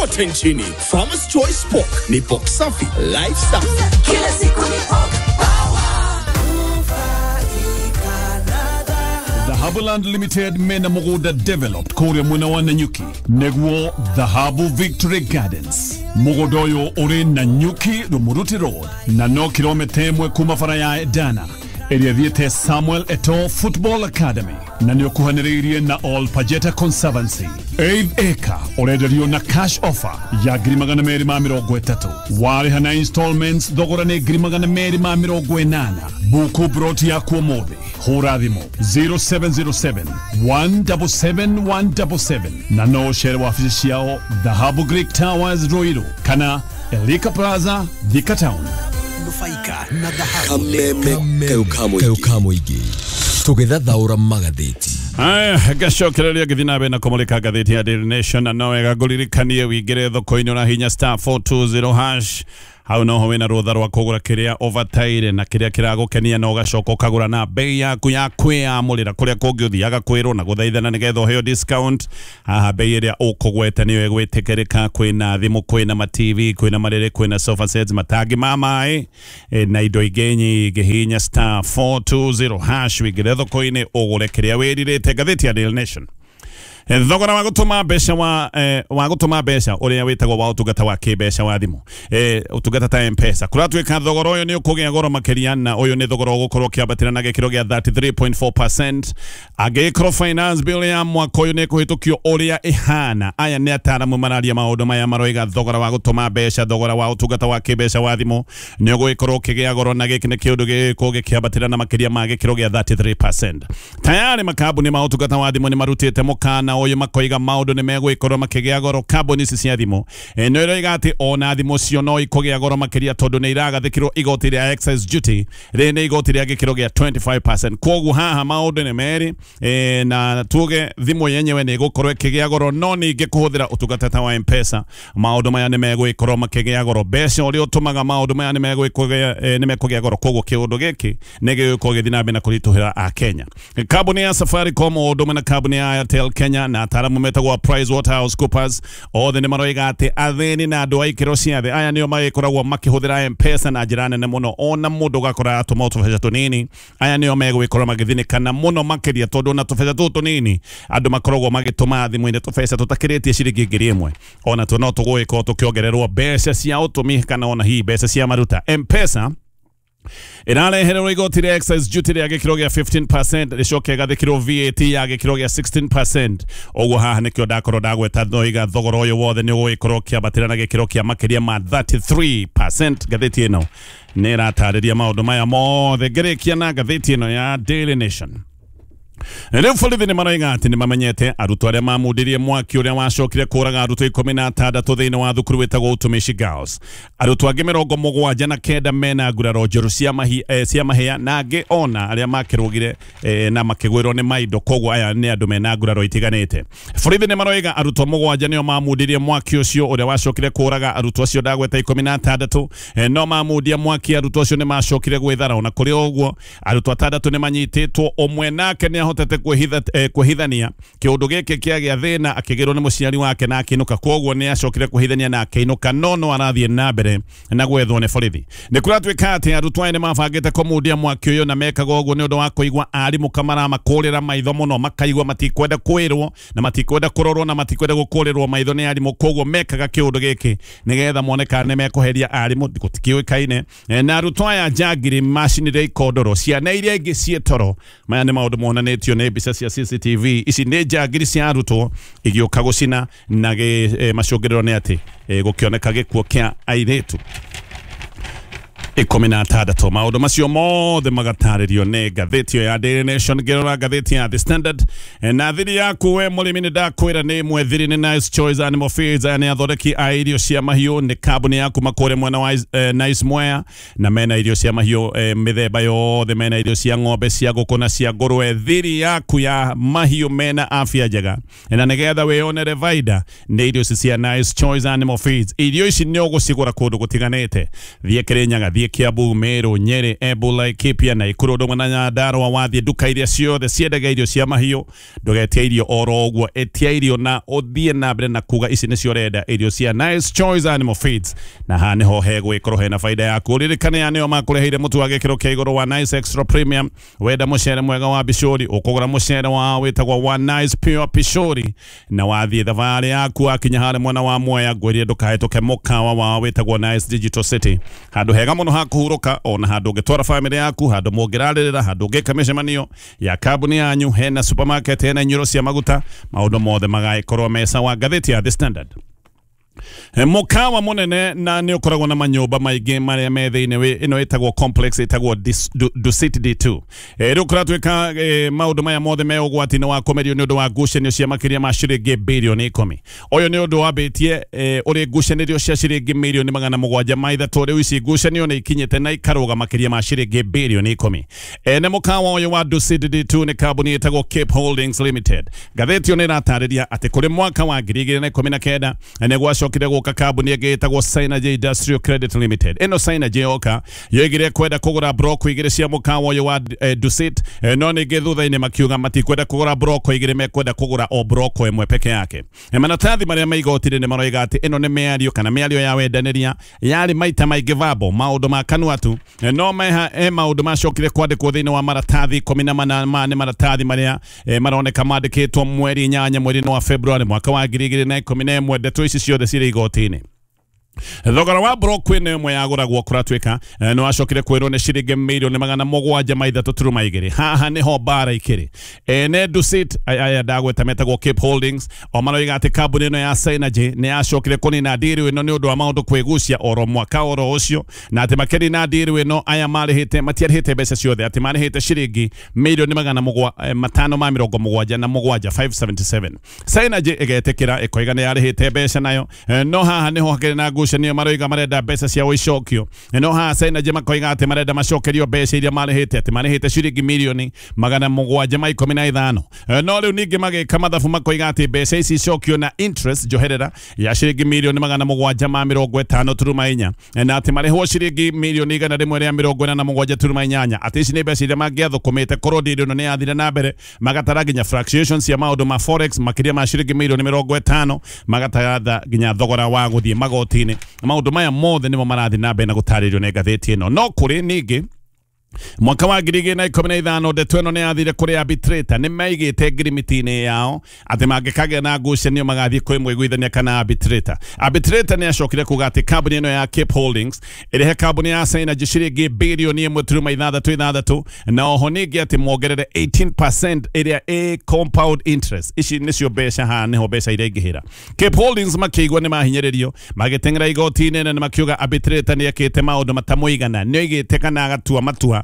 kote nchini. Farmers Choice Pork ni pork safi, life safi. Kila siku ni pork power. Dhahabuland Limited mena mugunda developed kuria mwena wa Nanyuki neguo Dhahabu Victory Gardens. Mugunda uyu uri Nanyuki Rumuruti Road na no kilomita 1 kuma bara ya Edana ĩrĩa thiĩte Samuel Eto'o Football Academy na nĩ ũkuhanĩrĩirie na All Pajeta Conservancy. 8 acre ũrenderio na cash offer ya 230,000. Warĩha na installments thogora nĩ 280,000. Buku broti yaku ũmũthĩ. Hũra thimũ 0707 177 177 na no ũcere wabici ciao Dhahabu Greek Towers Ruiru kana Elika Plaza Thika Town. Nufaika na dhahabu. Kameme tũgĩthathaũra magathĩti. Aya, ngacokereria ngĩthiĩ na mbere na kũmũrĩka ngathĩti ya Daily Nation na no wega ngũririkanie wĩingĩre thoko-inĩ ũrahinya star 420 hash. Hau noho wĩna rũtha rwa kũgũra kĩrĩa ũbataire na kĩrĩa kĩragũkenia na ũgacoka ũkagũra na bei yaku ya kwĩyamũrĩra kũrĩa kũngĩ ũthiaga kwĩrwo na gũthaithana nĩgetha ũheo discount. Haha bei ĩrĩa ũkũgweta nĩyo ĩgwĩtĩkĩrĩka. Kwĩna thimũ, kwĩna ma TV, kwĩna marĩrĩ, kwĩna sofa sets, matangi ma maĩ na indo ingĩ nyingĩ. Hinya star 420 hash wĩingĩre thoko-inĩ ũgũre kĩrĩa wĩrirĩte. Ngathĩti ya Daily Nation. Thogora wa gũtũma mbeca wa gũtũma mbeca ũrĩa wĩtagwo wa ũtungata wa kĩmbeca wa thimũ, ũtungata ta M-Pesa, kũratuĩka thogora ũyũ nĩ ũkũgĩa goro makĩria na ũyũ nĩ thogora ũgũkorwo ũkĩambatĩra na gĩkĩro gĩa 33.4%. Angĩkorwo finance bill ya mwaka ũyũ nĩ ĩkũhĩtũkio ũrĩa ĩhana, aya nĩ ataaramu mararia maũndũ maya maroiga thogora wa gũtũma mbeca, thogora wa ũtungata wa kĩmbeca wa thimũ nĩ ũgũgĩkorwo ũkĩgĩa goro na gĩkĩ nĩ kĩũndũ gĩgũkorwo gĩkĩambatĩra na makĩria ma gĩkĩro gĩa 33%. Tayari makambuni ma ũtungata wa thimũ nĩ marutĩte mũkana ũyũ makoiga maũndũ nĩ megũgĩkorwo makĩgĩa goro. Kambuni ici cia thimũ nĩ iroiga atĩ ona thimũ cio no ikũgĩa goro makĩria tondũ nĩ iragathĩkĩrwo igoti rĩa excise duty, rĩrĩ nĩ igoti rĩa gĩkĩro gĩa 25%. Kwoguo haha maũndũ nĩ merĩ, na tuge thimũ yenyewe nĩ ĩgũkorwo ĩkĩgĩa goro, no ningĩ kũhũthĩra ũtungata ta wa M-Pesa maũndũ maya nĩ megũgĩkorwo makĩgĩa goro. Mbeca ũrĩa ũtũmaga maũndũ maya nĩ mekũgĩa goro. Kwoguo kĩũndũ gĩkĩ nĩ gĩgũkorwo gĩthiĩ na mbere na kũritũhĩra Akenya. Kambuni ya Safaricom o ũndũ ũmwe na kambuni ya Airtel Kenya na ataaramu metagwo PricewaterhouseCoopers othe nĩ maroiga atĩ athĩni na andũ a ikĩro cia thĩ aya nĩo magĩkoragwo makĩhũthĩra M-Pesa na njĩra nene mũno, ona mũndũ ũgakora atũma tũbeca tũnini, aya nĩo megũgĩkorwo magĩthĩnĩkana mũno makĩria tondũ ona tũbeca tũtũ tũnini andũ makoragwo magĩtũma thimũ-inĩ tũbeca tũtakĩrĩtie ciringi 1,000, ona tuo no tũgũgĩkorwo tũkĩongererwo mbeca cia ũtũmi kana ona hihi mbeca cia maruta. M-Pesa ĩrarehererwo igoti rĩa excise duty rĩa gĩkĩro gĩa 15%, rĩcoke ĩgathĩkĩrwo VAT ya gĩkĩro gĩa 16%. Ũguo haha nĩkĩo ndakorwo ndagweta ndoiga thogora ũyũ wothe nĩ ũgũgĩkorwo ũkĩambatĩra na gĩkĩro kĩa makĩria ma 33%. Ngathĩti ĩno nĩ ĩratarĩria maũndũ maya mothe. Ngĩrĩkia na ngathĩti ĩno ya Daily Nation. Rĩu borithi nĩ maroiga atĩ nĩ mamenyete arutwo arĩa mamundirie mwaki ũrĩa wacokire kũraga arutwo 16 thĩinĩ wa thukuru wĩtagwo Utumishi Girls. Arutwo angĩ 79 mena nguraro njerũ cia mahĩa na angĩ ona arĩa makĩrũgire na makĩgwĩrwo nĩ maindo. Koguo aya nĩ andũ mena nguraro itiganĩte. Borithi nĩ maroiga arutwo 7 nĩo mamundirie mwaki ũcio ũrĩa wacokire kũraga arutwo acio ndagweta 16, no mamundia mwaki arutwo acio nĩ macokire gwĩthara. Ona kũrĩ ũguo arutwo 6 nĩ manyitĩtwo, ũmwe nake nĩ ahotete kwĩhithania kĩũndũ gĩkĩ kĩagĩa thĩna akĩgĩrwo nĩ mũciari wake na akĩinũka. Kwoguo nĩ acokire kwĩhithania na akĩinũka, no no arathiĩ na mbere na gwethwo nĩ borithi. Nĩ kũratuĩka atĩ arutwo aya nĩ mabangĩte kũmundia mwaki ũyũ na mekaga ũguo nĩ ũndũ wa kũigua arimũ kamaramakũrĩra maitho mũno, makaigua matikwenda kwĩrwo na matikwenda kũrorwo na matikwenda gũkũrĩrwo maitho nĩ arimũ. Kwoguo mekaga kĩũndũ gĩkĩ nĩgetha mone kana nĩ mekũheria arimũ, gũtikĩũĩkaine. Na arutwo aya njangiri macinire ikondoro ciana iria ingĩ ciĩ toro. Maya nĩ maũndũ monanĩtio nĩ mbica cia CCTV. Ici nĩ njangiri cia arutwo igĩũka gũcina na macũngĩrĩro nĩ atĩ gũkĩoneka gĩkuũ kĩa airĩtu 16. Maũndũ macio mothe magatarĩrio nĩ ngathĩti ĩyo ya Daily Nation. Ngĩrora ngathĩti ya The Standard na thiri yaku we mũrĩmi nĩ ndakwĩra nĩ ĩmwe thiri nĩ Nice Choice Animal Feeds. Aya nĩ athondeki a irio cia mahiũ, nĩ kambuni ya kuma kũrĩa mwena wa Nice Mwea, na mena irio cia mahiũ mĩthemba yothe, mena irio cia ng'ombe, cia ngũkũ na cia ngũrwe. Thiri yaku ya mahiũ mena afya njega na nĩgetha wĩyonere baida nĩ irio ici cia Nice Choice Animal Feeds. Irio ici nĩ ũgũcigũra kũndũ gũtiganĩte, thiĩ Kĩrĩnyaga, thiĩ Wathiĩ Kiambu, Meru, Nyeri, Embu, Laikipia na Nakuru ndũmwe na Nyandarua, wathiĩ nduka iria ciothe ciendagia irio cia mahiũ, ndũgetie irio oro ũguo, ĩtia irio na ũthiĩ na mbere na kuga ici nĩcio ũrenda, irio cia Nice Choice Animal Feeds, na haha nĩho hegwĩkorwo hena faida yaku. Ũririkane aya nĩo makũreheire mũtu wa gĩkĩro kĩa igũrũ wa Nice Extra Premium. Wenda mũcere mwega wa bicũri, ũkũgũra mũcere wao wĩtagwo wa Nice Pure Pishori, na wathiĩ thabarĩ yaku wakinya harĩa mwena wa Mwea, ngwĩrire ndũkahĩtũke mũkawa wao wĩtagwo Nice Digital City, handũ hega mũno ha kũhurũka, ona handũ ũngĩtwara famĩlĩ yaku, handũ mũngĩrarĩrĩra, handũ ũngĩka mĩcemanio ya kambuni yanyu, hena supermarket, hena inyuĩro cia maguta, maũndũ mothe magagĩkorwo me sawa. Ngathĩti ya The Standard, mũkawa mũnene na nĩ ũkoragwo na manyũmba maingĩ marĩa me thĩinĩ ĩno ĩtagwo complex ĩtagwo Dusit D2. Rĩu kũratuĩka maũndũ maya mothe me ũgwati-inĩ wa kũmerio nĩ ũndũ wa ngucanio cia makĩria ma ciringi birioni 10. Ũyũ nĩ ũndũ wambĩtie ũrĩ ngucanĩrio cia ciringi mirioni 703. Rĩu ici ngucanio nĩ ikinyĩte na ikarũga makĩria ma ciringi birioni 10. Ene mũkawa ũyũ wa Dusit D2 nĩ kambuni ĩtagwo Cape Holdings Limited. Ngathĩti ĩyo nĩ ĩratarĩria atĩ kũrĩ mwaka wa 2019 nĩ gwacokire gũka kambuni ĩngĩ ĩtagwo Synergy Industrial Credit Limited. Ĩno Synergy yoka yoigire kwenda kũgũra broko igĩrĩ cia mũkawa ũyũ wa Dusit, no ningĩ thutha-inĩ makiuga matikwenda kũgũra broko igĩrĩ, mekwenda kũgũra o broko ĩmwe peke yake. Maratathi marĩa me igoti-inĩ nĩ maroiga atĩ ĩno nĩ mĩario kana mĩario ya wendanĩria yarĩ maita maingĩ verbal, maũndũ ma kanua tu, no meha maũndũ macokire kwandĩkwo thĩinĩ wa maratathi 18 nĩ maratathi marĩa maroneka mandĩkĩtwo mweri 8 mweri-inĩ wa February mwaka wa 2011. Ndeto ici ciothe cirĩ igoti-inĩ. Thogora wa broko ĩno ĩmwe yagũragwo kũratuĩka nĩ wacokire kwĩrwo nĩ ciringi mirioni 703.2. Haha nĩho mbara ikĩrĩ. Ene Dusit aya ndagweta metagwo Cape Holdings o maroiga atĩ kambuni ĩno ya Synergy nĩ yacokire kũnina ndiri ĩno nĩ ũndũ wa maũndũ kwĩgucia oro mwaka oro ũcio, na atĩ makĩnina ndiri ĩno aya marĩhĩte matiarĩhĩte mbeca ciothe, atĩ marĩhĩte ciringi mirioni 577 577. Synergy ĩgetĩkĩra ĩkoiga nĩ yarĩhĩte mbeca nayo, no haha nĩho hakĩrĩ na ngucanio, maroiga marenda mbeca ciao icokio, no haha Synergy makoiga atĩ marenda macokerio mbeca iria marĩhĩte, atĩ marĩhĩte ciringi mirioni 715. No rĩu ningĩ magĩka mathabu makoiga atĩ mbeca ici icokio na interest njoherera ya ciringi mirioni 750.4, na atĩ marĩhwo ciringi mirioni 147.8, atĩ ici nĩ mbeca iria mangĩathũkũmĩte korwo ndiri ĩno nĩ yathire na mbere. Magatara nginya fluctuations cia maũndũ ma forex makĩria ma ciringi mirioni 50, magatara nginya thogora wa gũthiĩ magoti-inĩ. Maũndũ maya mothe nĩmo marathiĩ na mbere na gũtarĩrio nĩ ngathĩti ĩno. No kũrĩ ningĩ mwaka wa 2015 ndeto ĩno nĩ yathire kũrĩ arbitrator, nĩ maigĩte ngirimiti-inĩ yao atĩ mangĩkagĩa na ngucanio magathiĩ kwĩ mũiguithania kana arbitrator. Arbitrator nĩ acokire kuga atĩ kambuni ĩno ya Cape Holdings ĩrĩhe kambuni ya Synergy ciringi birioni 1.66, na oho ningĩ atĩ mongerere 18% ĩrĩa ĩ compound interest. Ici nĩcio mbeca, haha nĩho mbeca iria ingĩhĩra. Cape Holdings makĩigua nĩ mahinyĩrĩrio, magĩteng'era igoti-inĩ na makiuga arbitrator nĩ ekĩte maũndũ matamũigana, nĩ oigĩte kana agatua matua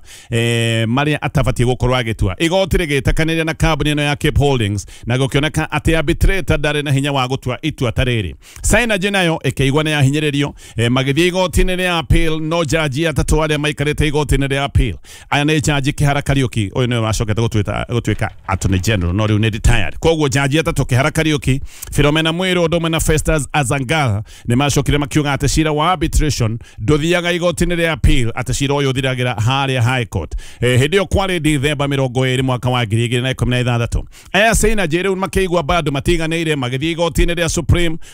marĩa atabatiĩ gũkorwo agĩtua. Igoti rĩgĩtakanĩria na kambuni ĩno ya Cape Holdings na gũkĩoneka atĩ arbitrator ndarĩ na hinya wa gũtua itua ta rĩrĩ. Synergy nayo ĩkĩigua nĩ yahinyĩrĩrio, magĩthiĩ igoti-inĩ rĩa appeal, no jaji atatũ arĩa maikarĩte igoti-inĩ rĩa appeal, aya nĩ jaji Kihara Kariuki, ũyũ nĩwe wacokete gũtuĩka attorney general no rĩu nĩ retired. Koguo jaji atatũ Kihara Kariuki, Philomena Mwiru ũndũ ũmwe na Festus Azangala nĩ macokire makiuga atĩ cira wa arbitration ndũthiaga igoti-inĩ rĩa appeal, atĩ cira ũyũ ũthiragĩra harĩa High Court. Hĩndĩ ĩyo kwarĩ Dithemba 20 mwaka wa 2016. Aya Synergy rĩu makĩigua bado matiganĩire, magĩthiĩ igoti-inĩ rĩa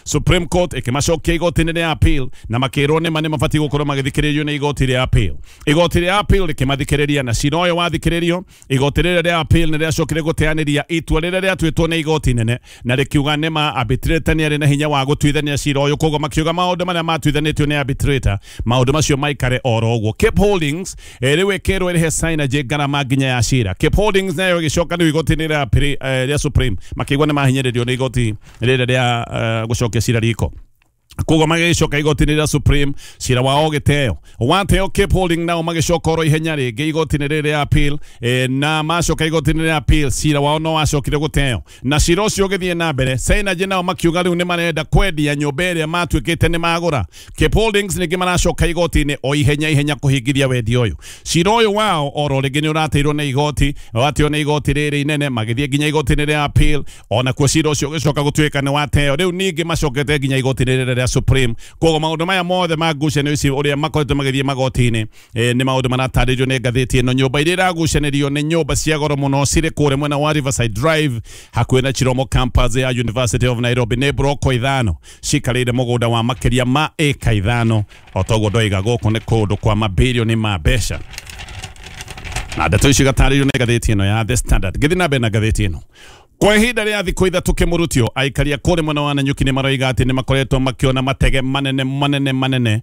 Supreme Court ĩkĩmacokia igoti-inĩ rĩa appeal na makĩrwo nĩma nĩ mabatiĩ gũkorwo magĩthikĩrĩrio nĩ igoti rĩa appeal. Igoti rĩa appeal rĩkĩmathikĩrĩria na cira ũyũ wathikĩrĩrio, igoti rĩrĩa rĩa appeal nĩ rĩacokire gũteanĩria itua rĩrĩa rĩatuĩtwo nĩ igoti nene na rĩkiuga nĩma arbitrator nĩ arĩ na hinya wa gũtuithania cira ũyũ, koguo makiuga maũndũ marĩa matuithanĩtio nĩ arbitrator maũndũ macio maikare oro ũguo. Cape Holdings rĩu ĩkĩrwo ĩrĩhe Synergy ngarama nginya ya cira. Cape Holdings nayo ĩgĩcoka rĩu igoti-inĩ rĩa Supreme, makĩigua nĩ mahinyĩrĩrio nĩ igoti rĩrĩa rĩa gũcokia cira riko. Koguo magĩcoka igoti-inĩ rĩa Supreme, cira wao ũgĩteo. Wateo Cape Holding nao magĩcoka oro ihenya rĩngĩ igoti-inĩ rĩrĩ rĩa appeal, na macoka igoti-inĩ rĩa appeal cira wao no wacokire gũteo, na cira ũcio ũgĩthiĩ na mbere. Synergy nao makiuga rĩu nĩ marenda kwendia nyũmba ĩrĩa matuĩkĩte nĩ magũra. Cape Holdings ningĩ maracoka igoti-inĩ o ihenya ihenya kũhingithia wendia ũyũ. Cira ũyũ wao oro rĩngĩ nĩ ũrateirwo nĩ igoti, wateo nĩ igoti rĩrĩ inene, magĩthiĩ nginya igoti-inĩ rĩa appeal, ona kuo cira ũcio ũgĩcoka gũtuĩka nĩ wateo. Rĩu ningĩ macokete nginya igoti-inĩ rĩrĩ rĩa rĩa Supreme. Koguo maũndũ maya mothe ma ngucanio ici ũrĩa makoretwo magĩthiĩ magoti-inĩ nĩ maũndũ maratarĩrio nĩ ngathĩti ĩno. Nyũmba iria iragucanĩrio nĩ nyũmba cia goro mũno cirĩ kũrĩa mwena wa Riverside Drive hakuhĩ na Chiromo campus ya University of Nairobi. Nĩ broko 5 cikarĩire mũgũnda wa makĩria ma ĩka 5. O toguo ndoiga gũkũ nĩ kũndũ kwa mabirioni ma mbeca. Na ndeto ici igatarĩrio nĩ ngathĩti ĩno ya The Standard. Ngĩthiĩ na mbere na ngathĩti ĩno, kwa ihinda rĩa thikũ 3 kĩmũrutio, aikaria kũrĩ mwena wa Nanyuki nĩ maroiga atĩ nĩ makoretwo makĩona matege manene manene manene,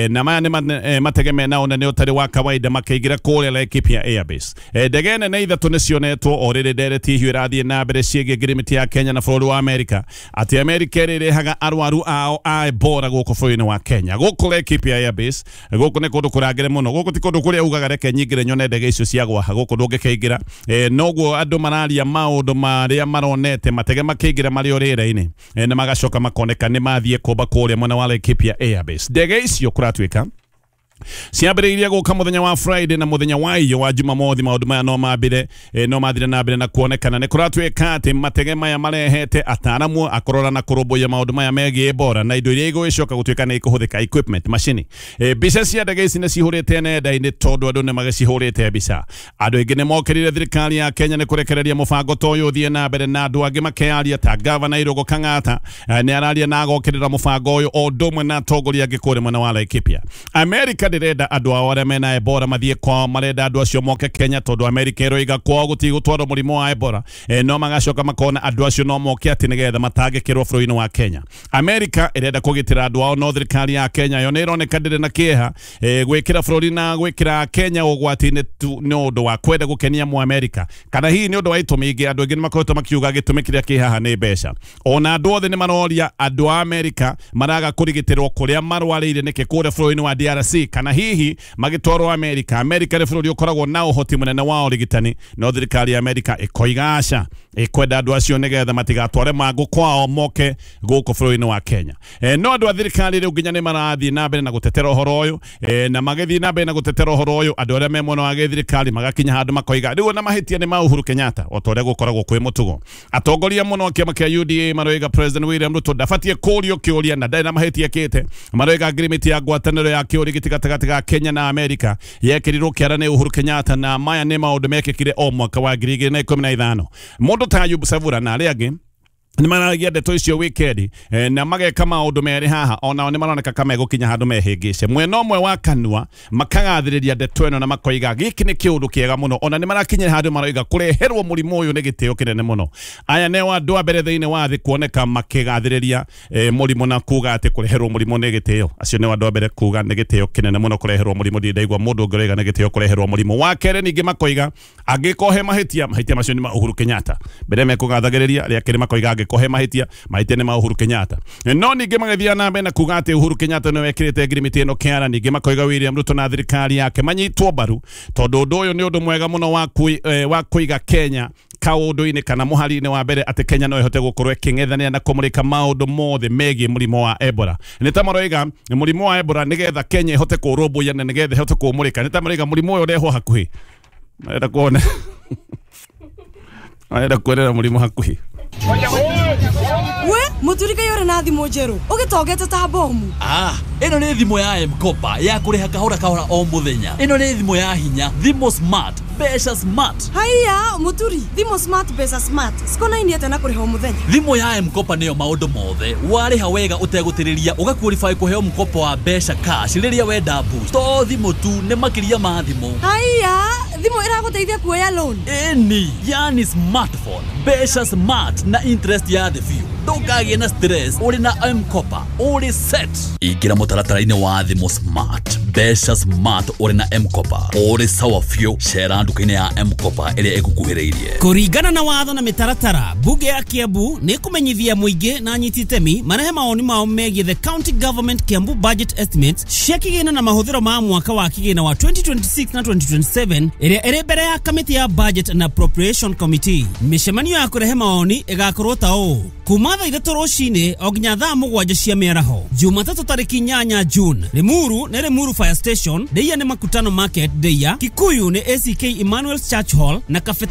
na maya nĩ matege mena ũnene ũtarĩ wa kawaida makĩingĩra kũrĩa Laikipia Airbase. Ndege nene 3 nĩ cionetwo o rĩrĩ ndereti hiũ ĩrathiĩ na mbere ciĩgiĩ ngirimiti ya Kenya na bũrũri wa Amerika, atĩ Amerika ĩrĩrehaga arwaru ao a Ebola gũkũ bũrũri-inĩ wa Kenya. Gũkũ Laikipia Airbase, gũkũ nĩ kũndũ kũrangĩre mũno, gũkũ ti kũndũ kũrĩa ugaga reke nyingĩre nyone ndege icio ciagwa, gũkũ ndũngĩkĩingĩra. Noguo andũ mararia maũndũ ma arĩa maronete matege makĩingĩra marĩ o rĩera-inĩ, na magacoka makoneka nĩ mathiĩ kũmba kũrĩa mwena wa Laikipia Airbase. Ndege icio kũratuĩka ciambĩrĩirie gũka mũthenya wa Friday na mũthenya wa iyo wa Jumamothi. Maũndũ maya no mambire no mathire na mbere na kuonekana. Nĩ kũratuĩka atĩ matege maya marehete ataaramu akũrora na kũrũmbũiya maũndũ maya megiĩ Ebola na indo iria igũgĩcoka gũtuĩka nĩ ikũhũthĩka, equipment, macini. Mbica cia ndege ici nĩ cihũrĩte nenda-inĩ tondũ andũ nĩ magĩcihũrĩte mbica. Andũ aingĩ nĩ mokĩrire thirikari ya Kenya nĩ kũrekereria mũbango ta ũyũ ũthiĩ na mbere, na andũ angĩ makearia ta Gavana Irũngũ Kang'ata nĩ araria na agokĩrĩra mũbango ũyũ o ũndũ ũmwe na atongoria angĩ kũrĩa mwena wa Laikipia. Amerika ndĩrenda andũ ao arĩa mena Ebola mathiĩ kwao, marenda andũ acio moke Kenya tondũ Amerika ĩroiga kwao gũtigũtwarwo mũrimũ wa Ebola. No magacoka makona andũ acio no moke atĩ nĩgetha matangĩkĩrwo bũrũri-inĩ wa Kenya. Amerika ĩrenda kũgitĩra andũ ao, no thirikari ya Kenya yo nĩ ĩroneka ndĩrĩ na kĩeha gwĩkĩra bũrũri na gwĩkĩra Kenya ũgwati-inĩ tu nĩ ũndũ wa kwenda gũkenia Mũamerika, kana hihi nĩ ũndũ wa itũmi ingĩ. Andũ aingĩ nĩ makoretwo makiuga gĩtũmi kĩrĩa kĩ haha nĩ mbeca. Ona andũ othe nĩ maroria andũ a Amerika maraga kũrigitĩrwo kũrĩa marwarĩire nĩkĩ kũrĩa bũrũri-inĩ wa DRC, kana hihi magĩtwarwo Amerika. Amerika nĩ bũrũri ũkoragwo na ũhoti mũnene wa ũrigitani, no thirikari ya Amerika ĩkoiga aca, ĩkwenda andũ acio nĩgetha matigatware mangũ kwao moke gũkũ bũrũri-inĩ wa Kenya. No andũ a thirikari rĩu nginya nĩ marathiĩ na mbere na gũtetera ũhoro ũyũ, na magĩthiĩ na mbere na gũtetera ũhoro ũyũ, andũ arĩa me mwena wa gĩthirikari magakinya handũ makoiga rĩu ona mahĩtia nĩ ma Uhuru Kenyatta, o ta ũrĩa gũkoragwo kwĩ mũtugo. Atongoria mũno a kĩama kĩa UDA maroiga President William Ruto ndabatiĩ kũũrio kĩũria na ndarĩ na mahĩtia ekĩte. Maroiga ngirimiti ya ngwatanĩro ya kĩũrigiti gatagatĩ ga Kenya na Amerika yekĩrirwo kĩara nĩ Uhuru Kenyatta, na maya nĩ maũndũ mekĩkire o mwaka wa 2015. Mũndũ ta Ayub Savura na arĩa angĩ nĩ maragia ndeto icio wikendi, na mageka maũndũ merĩ haha, onao nĩ maroneka ka megũkinya handũ mehĩngĩce. Mwena ũmwe wa kanua makagathĩrĩria ndeto ĩno na makoiga gĩkĩ nĩ kĩũndũ kĩega mũno, ona nĩ marakinyĩra handũ maroiga kũreherwo mũrimũ ũyũ nĩ gĩtĩo kĩnene mũno. Aya nĩo andũ a mbere thĩinĩ wa thĩ kuoneka makĩgathĩrĩria mũrimũ na kuga atĩ kũreherwo mũrimũ nĩ gĩtĩo. Acio nĩo andũ a mbere kuga nĩ gĩtĩo kĩnene mũno kũreherwo mũrimũ. Ndirĩ ndaigua mũndũ ũngĩ ũroiga nĩ gĩtĩo kũreherwo mũrimũ. Wa kerĩ ningĩ makoiga angĩkorwo he mahĩtia, mahĩtia macio nĩ ma Uhuru Kenyatta. Mbere mekũgathagĩrĩria, rĩa kerĩ makoiga angĩkorwo he mahĩtia, mahĩtia nĩ ma Uhuru Kenyatta. No ningĩ magĩthiĩ na mbere na kuga atĩ Uhuru Kenyatta nĩwe wekĩrĩte ngirimiti ĩno kĩara. Ningĩ makoiga William Ruto na thirikari yake manyitwo mbaru tondũ ũndũ ũyũ nĩ ũndũ mwega mũno wa kũiga Kenya kaũndũ-inĩ kana mũhari-inĩ wa mbere atĩ Kenya no ĩhote gũkorwo ĩkĩng'ethanĩra na kũmũrĩka maũndũ mothe megiĩ mũrimũ wa Ebola. Nĩ ta maroiga mũrimũ wa Ebola nĩgetha Kenya ĩhote kũũrũmbũiya na nĩgetha ĩhote kũũmũrĩka. Nĩ ta maroiga mũrimũ ũyũ ũrehwo hakuhĩ, marenda kuona marenda kuonera mũrimũ hakuhĩ. We muturika yore na thimũ njerũ ũgĩtongete ta bomu. Ĩno nĩ thimũ ya M-Kopa ya kũrĩha kahora kahora o mũthenya. Ĩno nĩ thimũ ya hinya, thimũ smart, mbeca smart. Haiya muturi, thimũ smart, mbeca smart cikonainie atĩa na kũrĩha o mũthenya? Thimũ ya M-Kopa nĩyo maũndũ mothe. Warĩha wega ũtegũtĩrĩria ũgaqualify kũheo mkopo wa mbeca cash rĩrĩa wenda boost. To thimũ tu, nĩ makĩria ma thimũ. Haiya, thimũ ĩragũteithia kuoya loan? Ĩni, yani smartphone, mbeca smart na interest ya thĩ biũ. Ndũkagĩe na stress ũrĩ na M-Kopa, ũrĩ set. Ingĩra mũtaratara-inĩ wa thimũ smart, mbeca smart ũrĩ na M-Kopa, ũrĩ sawa biũ. Cera nduka-inĩ ya M-Kopa ĩrĩa ĩgũkuhĩrĩirie. Kũringana na watho na mĩtaratara, bunge ya Kiambu nĩ kũmenyithia mũingĩ na anyiti itemi marehe mawoni mao megiĩ the county government Kiambu budget estimates cia kĩgĩna na mahũthĩro ma mwaka wa kĩgĩna wa 2026 na 2027 ĩrĩa ĩrĩ mbere ya kamĩtĩ ya budget and appropriation committee. Mĩcemanio ya kũrehe mawoni ĩgakorwo ta ũũ: kuma thaa 3 rũcinĩ o nginya thaa 7 cia mĩaraho, Jumatatũ tarĩki 8 June. Limuru nĩ Limuru Fire Station, Ndeia nĩ Makutano Market Ndeia, Kikuyu nĩ ACK Emmanuel Church Hall na Kabete